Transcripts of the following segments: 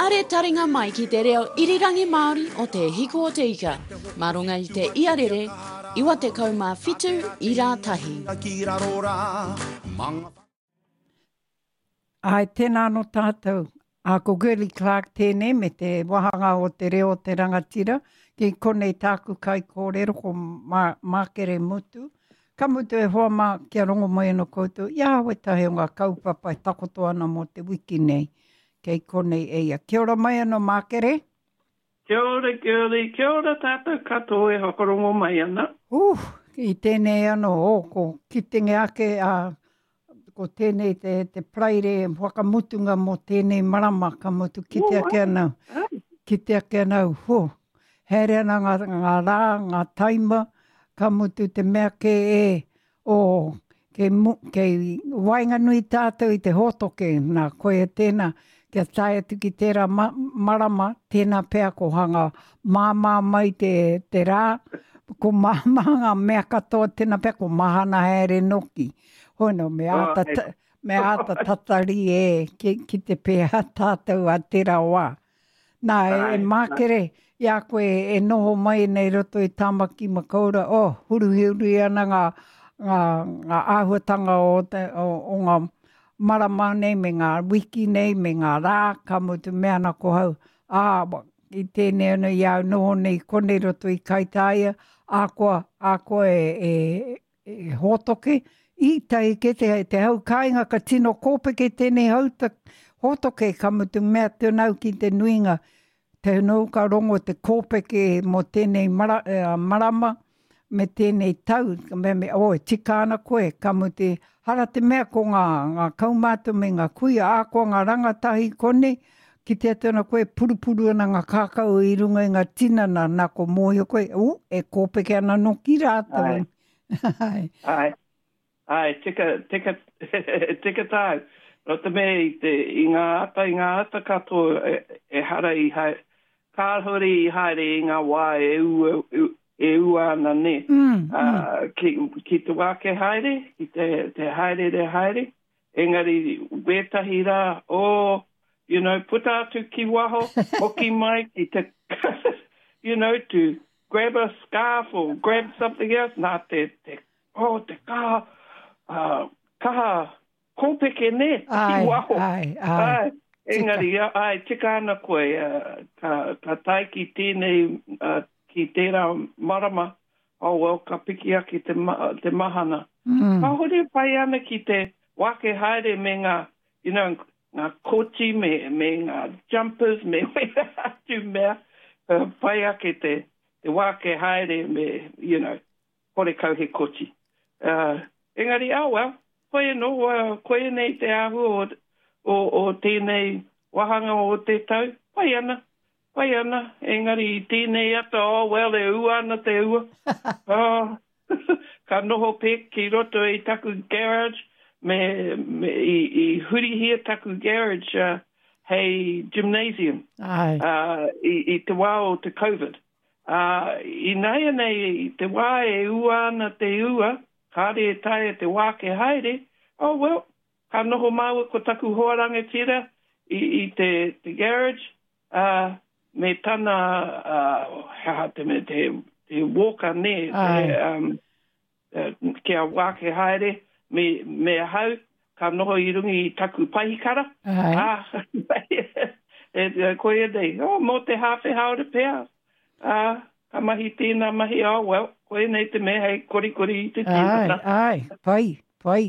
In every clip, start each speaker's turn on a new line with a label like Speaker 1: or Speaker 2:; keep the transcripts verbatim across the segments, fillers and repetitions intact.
Speaker 1: Are taringa mai ki te reo irirangi Māori o Te Hiku o Te Ika, mā runga i te iarere, iwa tekau mā whitu ira tahi.
Speaker 2: Ai, tēnā anō tātou. A, ko Girlie Clarke tēnei me te wāhanga o te reo o te rangatira. Ki konei tāku kaikōrero ko Mā, Mākere Mutu. Ka mutu e hoa mā, kia rongo mai anō koutou, i a wētahi o ngā kaupapa e takoto ana mō te wiki nei. Kei konei e ia. Kia ora mai anō, Mākere.
Speaker 3: Kia ora, Girlie. Kia ora tātou katoa e whakarongo mai ana.
Speaker 2: Uh, i tēnei anō, oh, ko kitenge ake a, ko tēnei te, te Paraire whakamutunga mō tēnei marama, ka mutu kite ake ana, kite ake ana, ho, haere ana ngā, ngā rā, ngā taima, ka mutu te mea kē e, oh, kei, mu, kei waenganui tātou i te hōtoke, nā, koia tēnā, kia tae atu ki tērā ma, marama, tēnā pea ko hanga māmā mai te, te rā, ko māmā ngā mea katoa, tēnā pea ko mahana haere noki. Hono, me āta, ta, me āta tatari e, ki, ki te pēhea tātou a tērā wā. Nā, e, e Mākere, i a koe e noho mai nei roto i Tāmaki Makaurau, oh, huruhuru ana ngā, ngā, ngā āhuatanga o, te, o, o ngā marama nei, me ngā wiki nei, me ngā rā, ka mutu mea ana ko hau. Ā, i tēnei ana i au noho nei konei roto i Kaitāia, a koa, a koa e, e, e hōtoke, i tahi ke te, te hau kāinga ka tino kōpeke tēnei hau ta, hōtoke, ka mutu mea tēnau ki te nuinga. Te nō ka rongo te kōpeke mō tēnei mara, eh, marama me tēnei tau, me, me, oh, e tika ana koe, ka mutu, hara te mea ko ngā, ngā kaumātua me ngā kuia, ā koa ngā rangatahi konei, ki te atu ana koe, purupuru ana ngā kākau i runga i ngā tinana, nā ko mōhio koe, uh, e kōpeke ana noki rātou.
Speaker 3: Ai.
Speaker 2: Ai.
Speaker 3: Ai. Ai, tika, tika, tika tāu. No te mea i, te, i ngā ata, i ngā ata katoa e, e hara i haere, kāhore i haere i ngā wā e ua, e ua ana ne.
Speaker 2: Mm,
Speaker 3: Uh, ki, ki te wā ke haere, ki te, te haere re haere, engari wētahi rā, oh, you know, puta atu ki waho, hoki mai ki te, you know, to grab a scarf or grab something else, nā te, te, oh, te kaha, uh, kaha kōpeke ne, ki
Speaker 2: Ai,
Speaker 3: waho.
Speaker 2: ai, ai.
Speaker 3: Ai, engari, ai, tika ana koe, uh, ka, ka tae ki tēnei, uh, ki tērā marama, oh well, ka piki ake te, ma, te mahana.
Speaker 2: Mm.
Speaker 3: Kāhore pai ana ki te wake haere me ngā, you know, ngā koti me, me ngā jumpers me wera atu mea, uh, pai ake te, te wake haere me, you know, kore kau he koti. Uh, engari, oh well, koe no, uh, koe nei te āhua o, o, o tēnei wāhanga o te tau, pai ana, pai ana, engari i tēnei ata, oh well, e ua ana te ua. Oh, ka noho pek ki roto i taku garage, me, me i, i hurihia taku garage uh, hei gymnasium.
Speaker 2: Ai.
Speaker 3: Uh, i, i te wā o te COVID. Uh, i nāianei, i te wā e ua ana te ua, kāre e taea te wā ke haere, oh well, ka noho māua ko taku hoa rangatira i, i te, te garage, uh, me tana, uh, hea te, me te, te walker ne, te,
Speaker 2: Ai.
Speaker 3: um, uh, kia wā ke haere, me, me ahau, ka noho i runga i taku paihikara.
Speaker 2: Ai.
Speaker 3: Ah, e, e, koia nei, oh, mō te hāwhe haore pea. Ah, ka mahi tēnā mahi, oh, well, koia nei te mea hei korikori i te
Speaker 2: Ai,
Speaker 3: tinana.
Speaker 2: ai, pai, pai.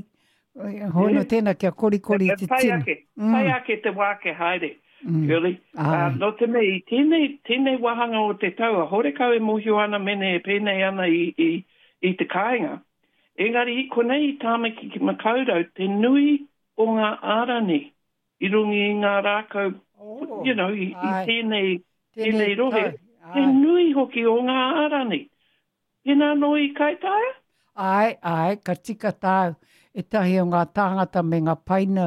Speaker 2: Hono
Speaker 3: Yeah.
Speaker 2: tēnā kia korikori i te
Speaker 3: Pai
Speaker 2: tina.
Speaker 3: ake,
Speaker 2: Mm.
Speaker 3: pai ake te wā ke haere,
Speaker 2: Mm.
Speaker 3: Girlie.
Speaker 2: Ai.
Speaker 3: Uh, no te mea, i tēnei, tēnei wāhanga o te tau, a horekau e mōhio ana mene e pēnei ana i, i, i te kāinga. Engari, i konei i Tāmaki ki Makaurau, te nui o ngā ārani i runga i ngā rākau,
Speaker 2: Oh,
Speaker 3: you know, i, i
Speaker 2: ai.
Speaker 3: tēnei,
Speaker 2: Tēnei
Speaker 3: tēnei rohe,
Speaker 2: tau,
Speaker 3: te
Speaker 2: ai.
Speaker 3: nui hoki o ngā ārani. Tēnā nō i Kaitaia?
Speaker 2: Ai, ai, ka tika tāu. E tahi o ngā tāngata me ngā paina,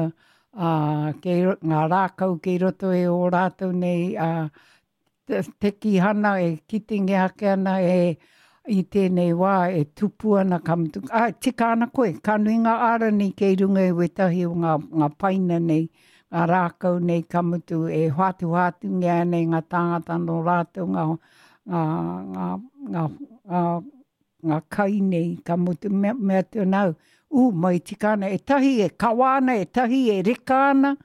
Speaker 2: uh, kei, ngā rākau kei roto e o rātou nei, uh, te, te kihana e kitinge ake ana e i tēnei wā e tupu ana ka mutu. Ai, tika ana koe, ka nui ngā ārani kei runga i wētahi o ngā, ngā paina nei, ngā rākau nei ka mutu e hoatuhoatungia ana e ngā tāngata nō rātou ngā, ngā, ngā, ngā, ngā, ngā kai nei ka mutu mea, mea atu ana au, ū, mai tika ana, e tahi e kawa ana, e tahi e reka ana,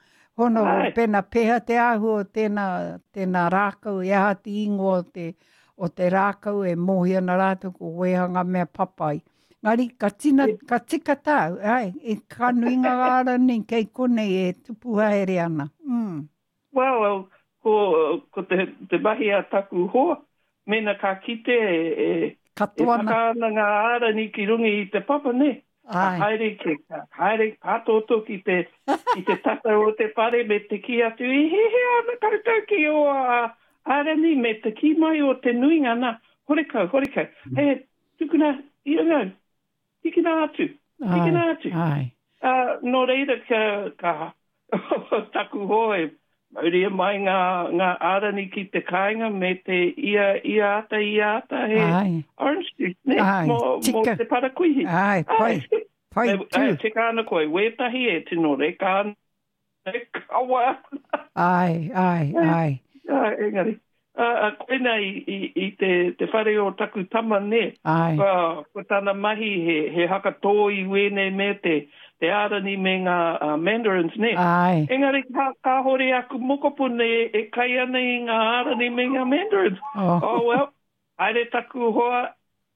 Speaker 2: hono
Speaker 3: Ai.
Speaker 2: pēnā pēhea te āhua o tēnā, tēnā rākau, e aha te ingoa o te, o te rākau e mōhio ana rātou ko wēha ngā mea papai. Ngari, ka tina, ka tika tāu, ai, e ka nui ngā ārani kei konei e tupu haere ana. Mm.
Speaker 3: Well, well, ko, ko te, te mahi a taku hoa, mena ka kite e, e, e
Speaker 2: Katoa ana.
Speaker 3: taka ana ngā ārani ki runga i te papa, ne? Ka
Speaker 2: Ai.
Speaker 3: haere, ki, ka haere pātōtō ki te, ki te tata o te whare me te kī atu, i hehea ana koutou ki o a ārani me te kī mai o te nuinga nā, horekau, horekau. Hei, tukuna, i runga, tikina atu,
Speaker 2: Ai,
Speaker 3: tikina atu.
Speaker 2: ai.
Speaker 3: Uh, nō reira ka, ka taku hoa e mauria mai ngā, ngā ārani ki te kāinga me te ia, ia ata, ia ata he
Speaker 2: Ai.
Speaker 3: orange juice, ne?
Speaker 2: Ai,
Speaker 3: Mō, mō
Speaker 2: tika.
Speaker 3: te parakuihi.
Speaker 2: Ai, pai,
Speaker 3: Ai.
Speaker 2: pai
Speaker 3: E,
Speaker 2: tū.
Speaker 3: ai, tika ana koe, wētahi e tino reka ana, e kawa ana.
Speaker 2: Ai, ai, ai.
Speaker 3: Ai, engari. Uh, koina i, i, i te, te whare o taku tama, ne?
Speaker 2: Ai.
Speaker 3: Ko, ko tana mahi he, he hakatō i wēnei me te, te ārani me ngā uh, mandarins, ne?
Speaker 2: Ai.
Speaker 3: Engari ka, kāhore aku mokopuna e, e kai ana i ngā ārani me ngā mandarins.
Speaker 2: Oh.
Speaker 3: Oh, well, haere taku hoa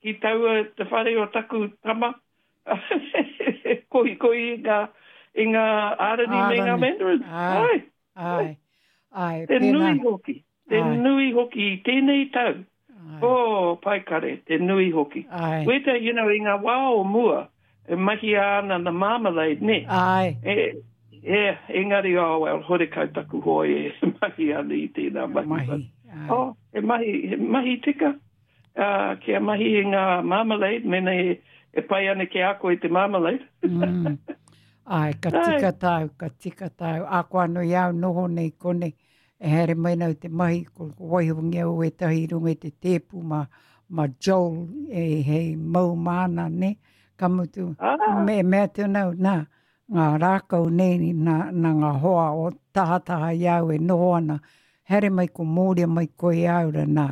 Speaker 3: ki taua te whare o taku tama. Kohi kohi i ngā, i ngā ārani me ngā
Speaker 2: Ārani.
Speaker 3: mandarins.
Speaker 2: Ai.
Speaker 3: Ai.
Speaker 2: Ai. Ai,
Speaker 3: Te
Speaker 2: pēnā.
Speaker 3: nui hoki. Te
Speaker 2: Ai.
Speaker 3: nui hoki i tēnei tau.
Speaker 2: Ai.
Speaker 3: Oh, pai kare, te nui hoki.
Speaker 2: Ai.
Speaker 3: Weta, you know, i ngā wā o mua, e mahia ana na marmalade, ne?
Speaker 2: Ai.
Speaker 3: E, e, engari, oh, well, horekau taku hoa e mahi ana i tēnā mahi.
Speaker 2: Mahi. Ai.
Speaker 3: Oh, he mahi, he mahi tika. Uh, kia mahi i ngā marmalade, mena e, e pai ana ki a koe te marmalade.
Speaker 2: Mm. Ai, ka
Speaker 3: Ai.
Speaker 2: tika tāu, ka tika tāu. A koa anō i au noho nei konei, e haere mai nau te mahi, ko, ko waihongia o ētahi i runga i te tēpu ma, ma Joel e hei mau māna, ne? Ka mutu,
Speaker 3: Ah.
Speaker 2: me, mea atu nau, nā, ngā rākau nei, nā, nā ngā hoa o tahataha i au e noho ana, haere mai ko mōria mai koe i au rā, nā,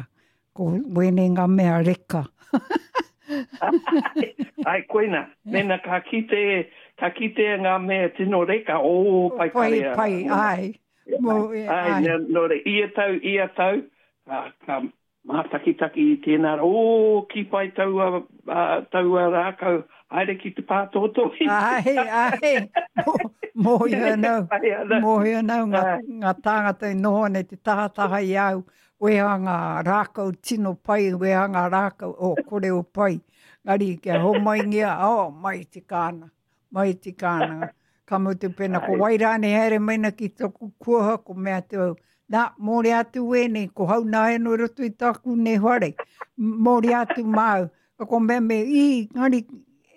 Speaker 2: ko wēnei ngā mea reka.
Speaker 3: Ai, koina, mena ka kite, ka kite ngā mea tino reka, oh, pai
Speaker 2: Pai,
Speaker 3: kare.
Speaker 2: pai, ai. Mo, e,
Speaker 3: Ai,
Speaker 2: ai.
Speaker 3: nā, nō re, ia tau, ia tau, ka, ka mātakitaki i tēnā, oh, ki pai taua, uh, taua rākau, haere ki te pātōtō.
Speaker 2: Ai, ai, mōhio anau,
Speaker 3: Pai ana.
Speaker 2: mōhio anau ngā,
Speaker 3: Ai.
Speaker 2: ngā tāngata i noho ana i te tahataha i au, weha ngā rākau tino pai, weha ngā rākau, o, kore o pai. Ngari, kia homaingia, oh, mai tika ana, mai tika ana. Ka mutu pēnā, ko
Speaker 3: Ai.
Speaker 2: wai rānei haere mai na ki toku kuaha, ko mea atu au, nā, mōre atu wēnei, ko hau nā eno i roto i tāku nei whare, mōre atu māu. Ka ko mea me, i, ngari,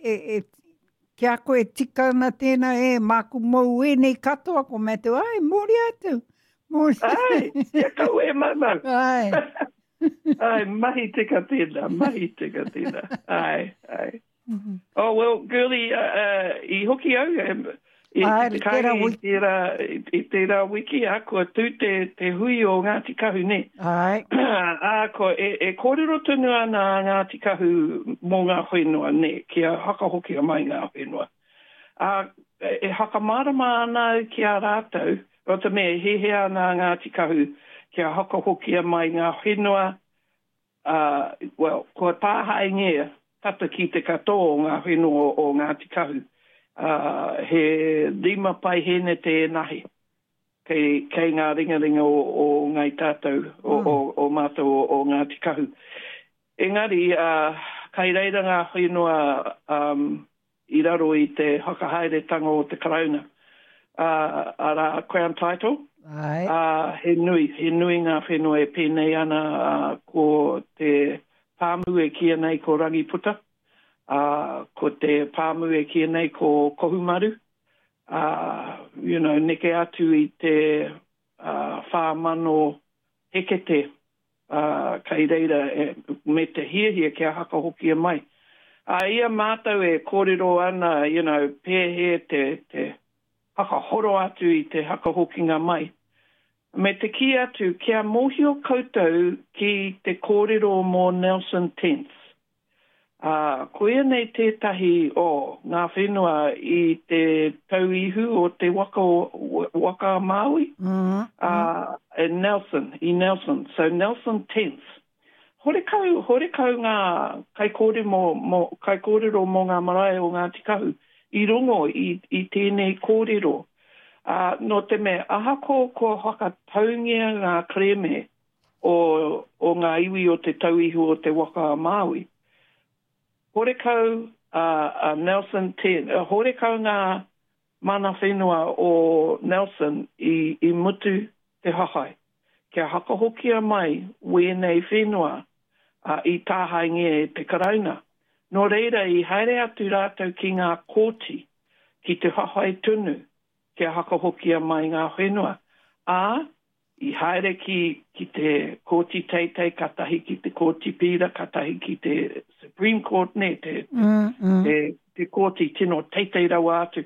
Speaker 2: e, e, kia koe tika ana tēnā, e, māku mou wēnei katoa, ko mea atu, ai, mōre atu, mōre.
Speaker 3: Ai, kia kau e maumau.
Speaker 2: Ai.
Speaker 3: Ai, mahi tika tēnā, mahi tika tēnā. Ai, ai. Oh, well, girlie, uh, uh, i hoki au, um, i,
Speaker 2: Ai,
Speaker 3: i te
Speaker 2: tērā
Speaker 3: kāinga i
Speaker 2: wiki.
Speaker 3: tērā, i, i tērā wiki, a kua tū te, te hui o Ngāti Kahu, ne?
Speaker 2: Ai.
Speaker 3: Ā, ko, e, e kōrero tonu ana a Ngāti Kahu mō ngā whenua, ne? Kia hakahokia mai ngā whenua. Ā, e, e hakamārama ana au ki a rātou, o te mea, e hehea ana a Ngāti Kahu kia hakahokia mai ngā whenua, uh, well, kua tāhaengia tata ki te katoa o ngā whenua o Ngāti Kahu. Uh, he rima pai hene te enahi. Kei, kei ngā ringaringa o, o ngai tātou, o,
Speaker 2: Mm.
Speaker 3: o, o mātou o, o Ngāti Kahu. Engari, uh, kai reira ngā whenua um, i raro i te whakahaeretanga o te Karauna. Uh, arā, Crown Title.
Speaker 2: Ai.
Speaker 3: Uh, he nui, he nui ngā whenua e pēnei ana uh, ko te pāmu e kīia nei ko Rangiputa, uh, ko te pāmu e kīia nei ko Kohumaru, uh, you know, neke atu i te uh, whā mano hekete uh, kai reira e, me te hiahia kia hakahokia mai. A ia mātou e kōrero ana, you know, pēhea te, te, hakahoro atu i te hakahokinga mai. Me te kī atu, kia mōhio koutou ki te kōrero mō Nelson Tents. Uh, koia nei tētahi o ngā whenua i te tauihu o te waka, waka Māui,
Speaker 2: mm -hmm.
Speaker 3: uh, in Nelson, i Nelson. So Nelson Tents. Horekau, horekau ngā kaikōrero mō, mō, kaikōrero mō ngā marae o Ngāti Kahu i rongo i, i tēnei kōrero. Uh, nō te mea, ahako kua whakataungia ngā kerēme o, o ngā iwi o te tauihu o te waka a Māui, horekau uh, uh, Nelson Ten, uh, horekau ngā mana whenua o Nelson i, i mutu te hahai. Kia hakahokia mai wēnei whenua uh, i tāhaingia e te Karauna. Nō reira i haere atu rātou ki ngā kōti, ki te hahai tonu, kia hakahokia mai ngā whenua. Ā, i haere ki, ki te kōti teitei, katahi ki te kōti pīra, katahi ki te Supreme Court, ne, te,
Speaker 2: mm, mm.
Speaker 3: te, te kōti tino teitei rawa atu.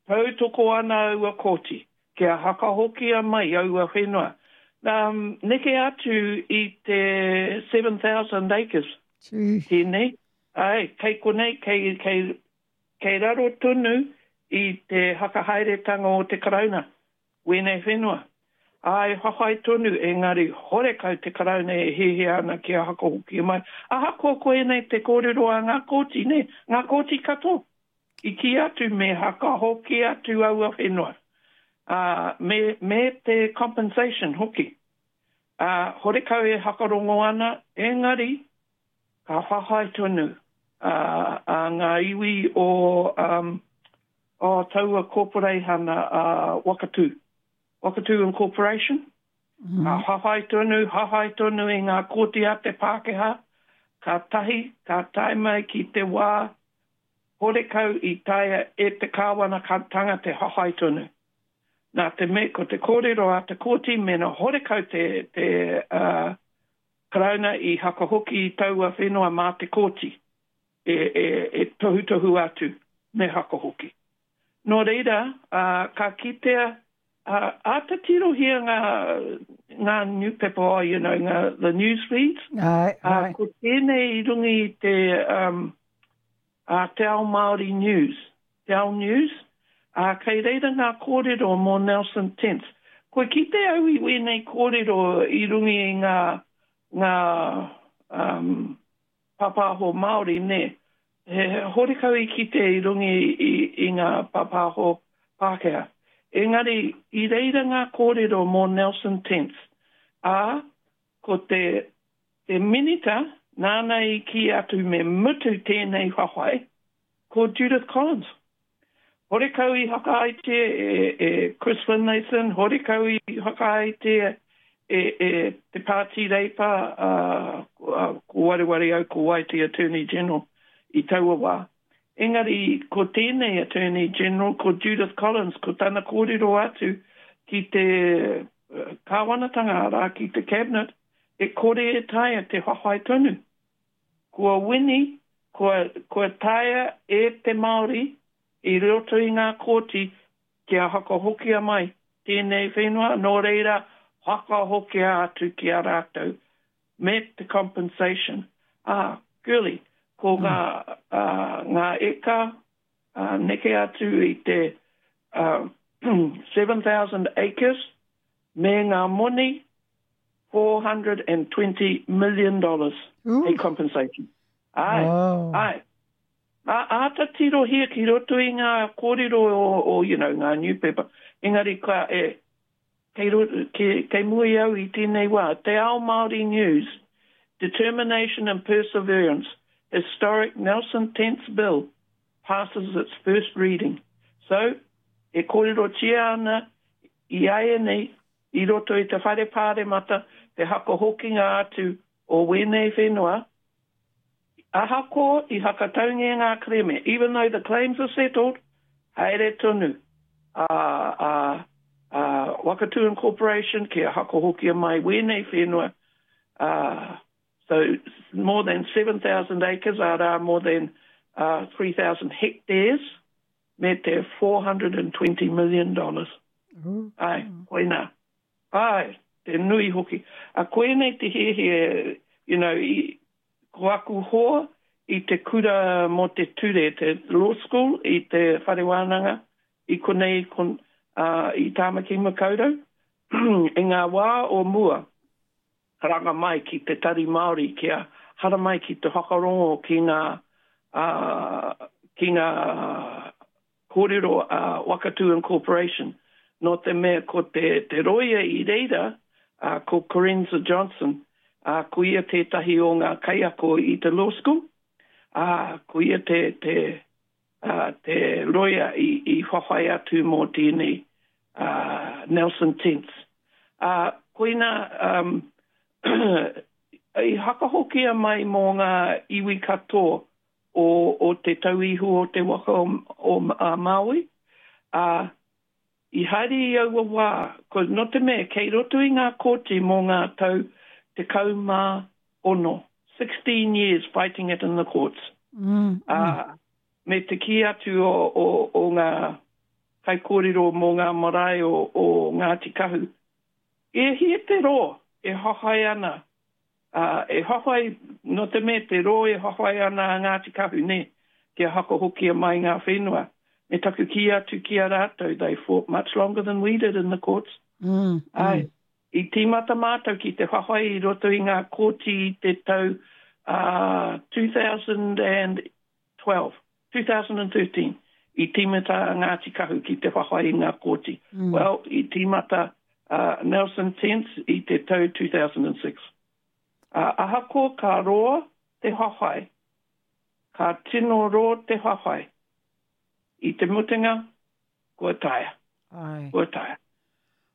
Speaker 3: Tautoko ana aua kōti, kia hakahokia mai aua whenua. Um, neke atu i te seven thousand acres.
Speaker 2: Gee.
Speaker 3: Tēnei. Ai, kei konei, kei, kei, kei raro tonu i te hakahaeretanga o te Karauna, wēnei whenua. Ai, hahai tonu, engari horekau te Karauna e hiahia ana kia hakahokia mai. Ahakoa koenei te kōrero a ngā kōti, ne? Ngā kōti katoa. I kī atu me hakahoki atu aua whenua. Uh, me, me te compensation hoki. Uh, horekau e hakarongo ana, engari, ka whahai tonu uh, a ngā iwi o, um, o taua korporeihana uh, Wakatū. Wakatū Incorporation.
Speaker 2: Mm -hmm.
Speaker 3: Ka hahai tonu, hahai tonu i ngā kōti a te Pākehā. Ka tahi, ka tae mai ki te wā, horekau i taea e te kāwanatanga te hahai tonu. Nā te me, ko te kōrero a te kōti, mena horekau te, te uh, Karauna i hakahoki i taua whenua mā te kōti e, e, e tohutohu atu me hakahoki. Nō reira, uh, ka kitea, uh, āta tirohia ngā, ngā newspaper, oh, you know, ngā, the news feeds.
Speaker 2: Ai, ai.
Speaker 3: Uh, ko tēnei i runga i te, um, uh, Te Ao Māori News. Te Ao News, uh, kei reira ngā kōrero mō Nelson Tents. Kua kite au i wēnei kōrero i runga i ngā, ngā um, pāpāho Māori, ne? He, he horekau i kite i runga i, i, i ngā pāpāho Pākehā. Engari, i reira ngā kōrero mō Nelson Tents. Ā, ko te, te minita, nāna i kī atu me mutu tēnei whawhai, ko Judith Collins. Horekau i whakaaetia e, e Chris Finlayson, horekau i whakaaetia e, e te Pāti Reipa, uh, ko wareware au ko wai te Attorney General i taua wā. Engari, ko tēnei Attorney General, ko Judith Collins, ko tana kōrero atu ki te kāwanatanga, arā, ki te cabinet, e kore e taea te whawhai tonu. Kua wini, kua, kua taea e te Māori i roto i ngā kōti kia hakahokia mai tēnei whenua, nō reira whakahokia atu ki a rātou me te compensation. Ah, girly, ko ngā, uh, ngā eka uh, neke atu i te uh, seven thousand acres me ngā moni four hundred and twenty million dollars a compensation. Ai,
Speaker 2: oh.
Speaker 3: Ai. Ā, āta tirohia ki roto i ngā kōrero o, o, you know, ngā newspaper. Engari ka, e, kei, kei, kei mua i au i tēnei wā. Te Ao Māori News, Determination and Perseverance, Historic Nelson Tents Bill passes its first reading. So, e kōrerotia ana i āianei i roto i te whare pāremata, te hakahokinga atu o wēnei whenua, ahakoa i hakataungia ngā kerēme, even though the claims are settled, haere tonu a, a, a Wakatū Incorporation kia hakahokia mai wēnei whenua. Uh, so more than seven thousand acres, arā more than uh, three thousand hectares, me te four hundred and twenty million dollars.
Speaker 2: Mm.
Speaker 3: Ai, koina. Ai, te nui hoki. A koenei te hiahia, you know, i, ko aku hoa i te kura mō te ture, te law school, i te whare wānanga, i konei kon, uh, i Tāmaki Makaurau, i ngā wā o mua, karanga mai ki te tari Māori, kia haramai ki te whakarongo ki ngā, uh, ki ngā kōrero a uh, Wakatu Incorporation. Nō te mea ko te, te roia i reira, uh, ko Corenza Johnson, uh, ko ia tētahi o ngā kaiako i te law school, uh, ko ia te, te, uh, te roia i, i whawhai atu mō tēnei uh, Nelson Tents. Uh, koina um, i hakahokia mai mō ngā iwi katoa o, o te tauihu o te waka o, o a Māui, uh, i haere i aua wā, ko no te mea, kei roto i ngā kōti mō ngā tau tekau mā ono, sixteen years fighting it in the courts.
Speaker 2: Mm,
Speaker 3: uh,
Speaker 2: mm.
Speaker 3: Me te kī atu o, o, o ngā kaikōrero mō ngā marae o, o Ngāti Kahu. E hia te rō e hahai ana, uh, e hahai, no te mea te rō e hahai ana a Ngāti Kahu, ne, kia hakahokia mai ngā whenua. Me taku kī atu ki a rātou, they fought much longer than we did in the courts.
Speaker 2: Mm,
Speaker 3: Ai,
Speaker 2: mm.
Speaker 3: I tīmata mātou ki te whawhai i roto i ngā kōti i te tau uh, two thousand twelve, two thousand thirteen, i tīmata a Ngāti Kahu ki te whawhai i ngā kōti.
Speaker 2: Mm.
Speaker 3: Well, i tīmata uh, Nelson Tents i te tau two thousand six. Uh, ahako ka roa te whawhai, ka tino roa te whawhai. I te mutunga, kua taea.
Speaker 2: Ai.
Speaker 3: Kua taea.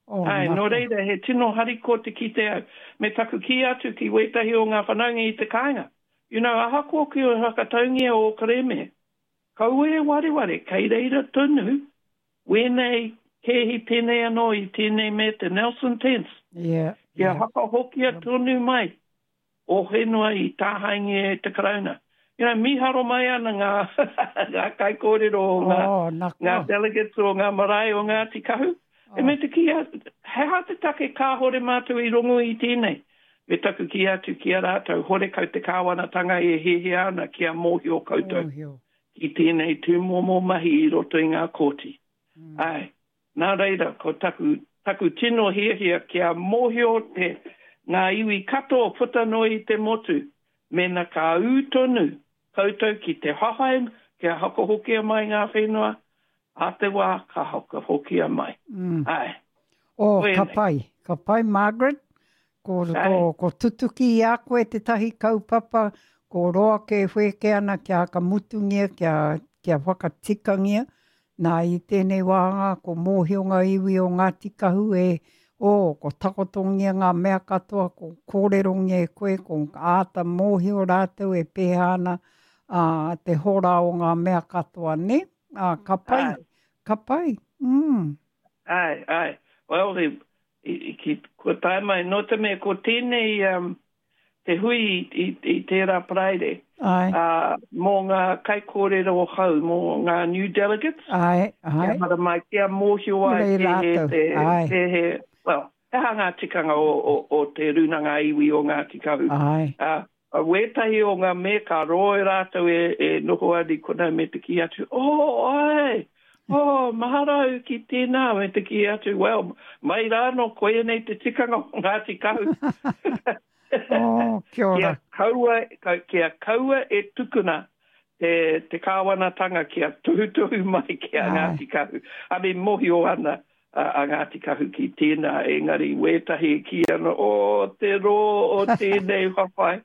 Speaker 2: Oh,
Speaker 3: Ai, nō reira, he tino hariko te kite au. Me taku kī atu ki wētahi o ngā whanaunga i te kāinga. You know, ahakoa ki o whakataungia o Kareme, kaua e wareware, kei reira tonu, wēnei kēhi pēnei anō i tēnei me te Nelson Tents.
Speaker 2: Yeah,
Speaker 3: Kia
Speaker 2: yeah.
Speaker 3: whakahokia tonu mai o whenua i tāhaingia e te Karauna. You know, miharo mai ana ngā, ngā kaikōrero o ngā,
Speaker 2: oh, nā
Speaker 3: ngā delegates o ngā marae o Ngāti Kahu.
Speaker 2: Oh.
Speaker 3: E me te ki a, he ha te take kāhore mātou i rongo i tēnei. Me taku ki atu ki a rātou, hore kau te kāwanatanga e hehea ana kia mōhio koutou.
Speaker 2: Mōhio.
Speaker 3: Ki tēnei tūmomo mahi i roto i ngā kōti.
Speaker 2: Mm.
Speaker 3: Ai, nā reira, ko taku, taku tino hiahia kia mōhio te ngā iwi katoa puta noa i te motu. Mena ka ū tonu koutou ki te hahai, kia hakahokia mai ngā whenua, a te wā ka hakahokia mai.
Speaker 2: Mm.
Speaker 3: Ai.
Speaker 2: Oh,
Speaker 3: Koe
Speaker 2: ka
Speaker 3: nei.
Speaker 2: pai. Ka pai, Margaret. Ko,
Speaker 3: Ai.
Speaker 2: ko, ko tutuki i a koe te tahi kaupapa, ko roa ke wheke ana kia hakamutungia, kia, kia whakatikangia. Nā i tēnei wāhanga, ko mōhio ngā iwi o Ngāti Kahu e, oh, ko takotongia ngā mea katoa, ko kōrerongia e koe, ko āta mōhio rātou e pēhā ana, uh, te hora o ngā mea katoa, ne? Uh, ka pai,
Speaker 3: Ai.
Speaker 2: ka pai. Mm.
Speaker 3: Ai, ai. Well, i, i, ki, kua tae mai, nō te mea, ko tēnei um, te hui i, i, i tērā Paraire,
Speaker 2: Ai.
Speaker 3: uh, mō ngā kaikōrero hau, mō ngā new delegates.
Speaker 2: Ai, ai.
Speaker 3: Kia haramai, kia mōhio ai
Speaker 2: Rei
Speaker 3: te he,
Speaker 2: rātou,
Speaker 3: te,
Speaker 2: ai.
Speaker 3: te he, well, he aha ngā tikanga o, o, o te rūnanga iwi o Ngāti Kahu.
Speaker 2: Ai.
Speaker 3: Uh, a wētahi o ngā me ka roe rātou e, e noho ani konau me te kī atu, oh, ai, oh, mahara au ki tēnā, me te kī atu, well, mai rāno koe nei te tikanga o Ngāti Kahu.
Speaker 2: Oh, kia ora.
Speaker 3: Kia kaua, ka, kia kaua e tukuna te, te kāwanatanga kia tuhutuhu mai ki a
Speaker 2: Ai.
Speaker 3: Ngāti Kahu. I mean, mōhio ana a, a Ngāti Kahu ki tēnā, engari wētahi ki ana, o te rō o tēnei whawhai,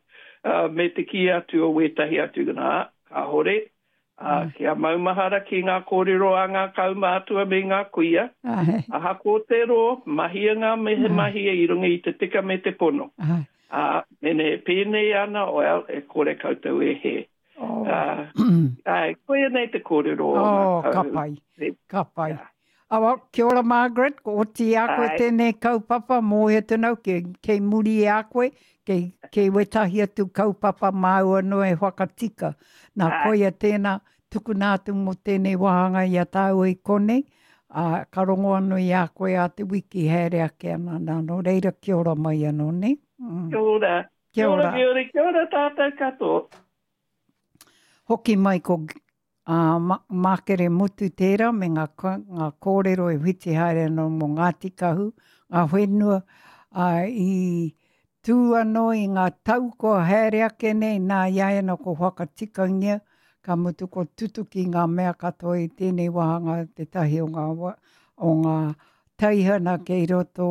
Speaker 3: uh, me te kī atu o wētahi atu, nā, kāhore, uh, kia maumahara ki ngā kōrero a ngā kaumātua me ngā kuia,
Speaker 2: Ai.
Speaker 3: ahako te rō, mahia ngā mehe mahia i runga i te tika me te pono.
Speaker 2: Ai.
Speaker 3: Uh, mene pēnei ana, well, e kore koutou e he.
Speaker 2: Oh.
Speaker 3: Uh, ai, koia nei te kōrero o ngā
Speaker 2: Oh, ka
Speaker 3: kau.
Speaker 2: pai, ka pai.
Speaker 3: Yeah.
Speaker 2: Awa, kia ora Margaret, ko oti i a koe
Speaker 3: Ai.
Speaker 2: tēnei kaupapa, mōhio tēnau, kei, kei muri i a koe, kei, kei wetahi atu kaupapa māu anō e whakatika. Nā
Speaker 3: Ai.
Speaker 2: koia tēnā, tukuna atu mō tēnei wāhanga i a tāua i konei, ā, ka rongo anō i a koe a te wiki haere ake ana nā, nō reira kia ora mai anō, nē?
Speaker 3: Mm. Kia ora. Kia ora. Kia ora, kia ora tātou katoa.
Speaker 2: Hoki mai ko ā, Mākere Mutu tērā me ngā, ngā kōrero e whiti haere ana mō Ngāti Kahu, ngā whenua, ā, i tū anō i ngā tau kua haere ake nei, nā i a ia ko whakatikangia, ka mutu ko tutuki ngā mea katoa i tēnei wāhanga tētahi o ngā, o ngā teihana kei roto,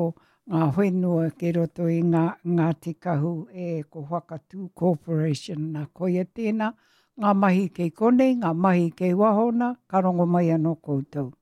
Speaker 2: ngā whenua kei roto i ngā Ngāti Kahu e ko Whakatū Corporation. Nā, koia tēnā, ngā mahi kei konei, ngā mahi kei waho nā, ka rongo mai anō koutou.